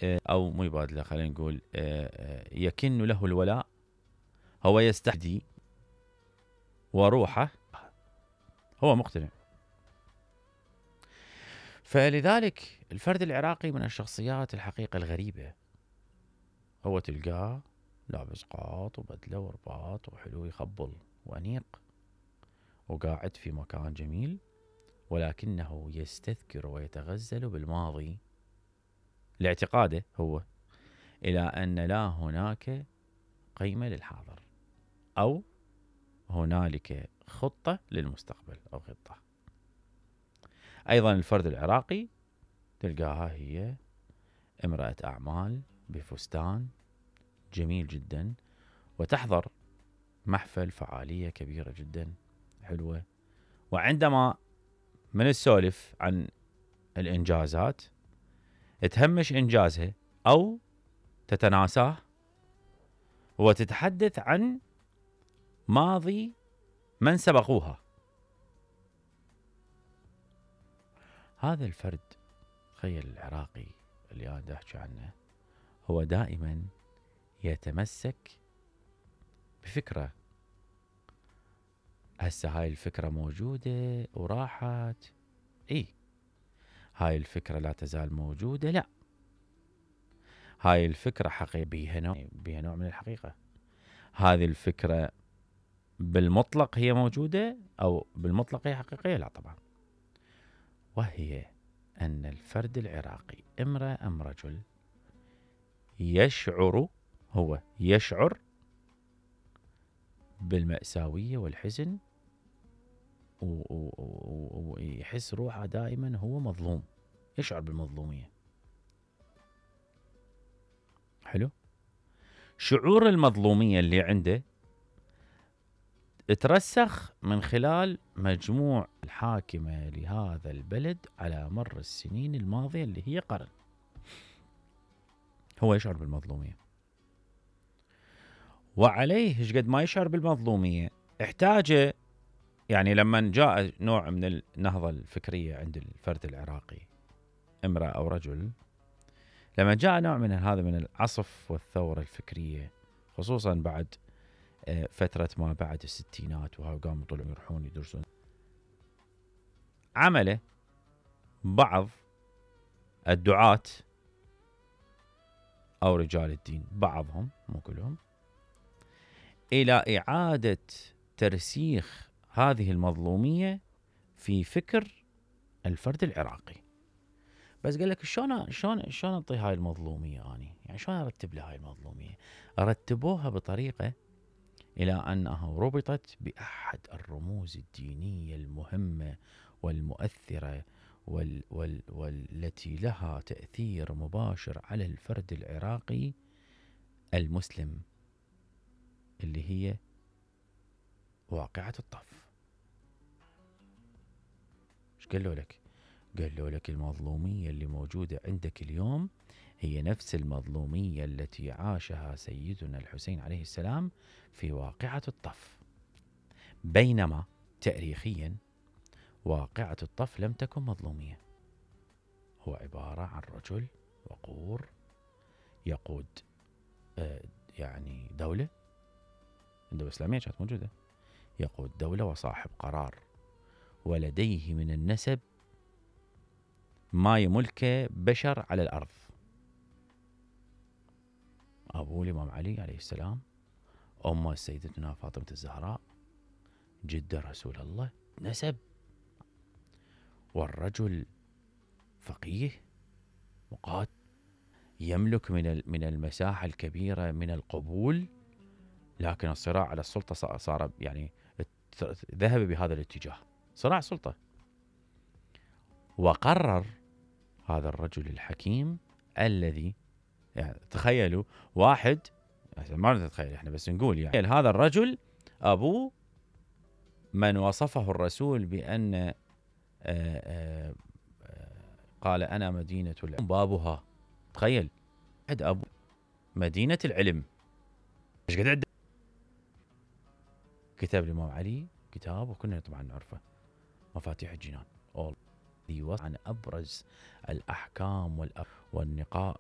أو مو يبادله، خلينا نقول يكن له الولاء، هو يستحدي وروحه هو مقتنع. فلذلك الفرد العراقي من الشخصيات الحقيقة الغريبة. هو تلقاه لابس قاط وبدلة ورباط وحلو يخبل وأنيق وقاعد في مكان جميل، ولكنه يستذكر ويتغزل بالماضي لاعتقاده هو إلى أن لا هناك قيمة للحاضر، أو هنالك خطة للمستقبل أو خطة. أيضا الفرد العراقي تلقاها هي امرأة أعمال بفستان جميل جدا، وتحضر محفل فعالية كبيرة جدا حلوة، وعندما من السولف عن الإنجازات تهمش إنجازها أو تتناساه وتتحدث عن ماضي من سبقوها. هذا الفرد، تخيل العراقي اللي أنا أحكي عنه، هو دائما يتمسك بفكرة. هسه هاي الفكرة موجودة وراحت، هاي الفكرة لا تزال موجودة، لا، هاي الفكرة حقيقة بيها نوع من الحقيقة. هذه الفكرة بالمطلق هي موجودة أو بالمطلق هي حقيقية؟ لا طبعا. وهي أن الفرد العراقي امرأة أم رجل يشعر بالمأساوية والحزن، ويحس روحه دائما هو مظلوم، يشعر بالمظلومية. حلو. شعور المظلومية اللي عنده ترسخ من خلال مجموع الحاكمة لهذا البلد على مر السنين الماضية اللي هي قرن. هو يشعر بالمظلومية، وعليه ايش قد ما يشعر بالمظلومية احتاج، يعني لما جاء نوع من النهضة الفكرية عند الفرد العراقي امرأة أو رجل، لما جاء نوع من هذا من العصف والثورة الفكرية، خصوصا بعد فترة ما بعد الستينات، وقاموا طلعوا يروحون يدرسون، عمله بعض الدعاة أو رجال الدين، بعضهم مو كلهم، إلى إعادة ترسيخ هذه المظلومية في فكر الفرد العراقي. بس قال لك شلون أعطي هاي المظلومية أني؟ يعني شلون أرتب لها هاي المظلومية؟ أرتبوها بطريقة إلى أنها ربطت بأحد الرموز الدينية المهمة والمؤثرة والتي لها تأثير مباشر على الفرد العراقي المسلم، اللي هي واقعة الطف. ايش قالوا لك؟ قالوا لك المظلومية اللي موجودة عندك اليوم هي نفس المظلومية التي عاشها سيدنا الحسين عليه السلام في واقعة الطف، بينما تاريخيا واقعة الطف لم تكن مظلومية. هو عبارة عن رجل وقور يقود يعني دولة، الدولة الإسلامية كانت موجودة، يقود دولة وصاحب قرار، ولديه من النسب ما يملكه بشر على الأرض. أبوه الإمام علي عليه السلام، أمه سيدتنا فاطمة الزهراء، جدة رسول الله، نسب. والرجل فقيه مقاد، يملك من المساحة الكبيرة من القبول، لكن الصراع على السلطة صار يعني ذهب بهذا الاتجاه، صراع سلطة. وقرر هذا الرجل الحكيم الذي، يعني تخيلوا واحد، ما نتخيل احنا بس نقول، يعني هذا الرجل أبوه من وصفه الرسول بأن قال أنا مدينة العلم بابها. تخيل عند أبو مدينة العلم. ايش قد عنده؟ كتاب الإمام علي، كتاب وكلنا طبعا نعرفه، مفاتيح الجنان، عن أبرز الأحكام والنقاء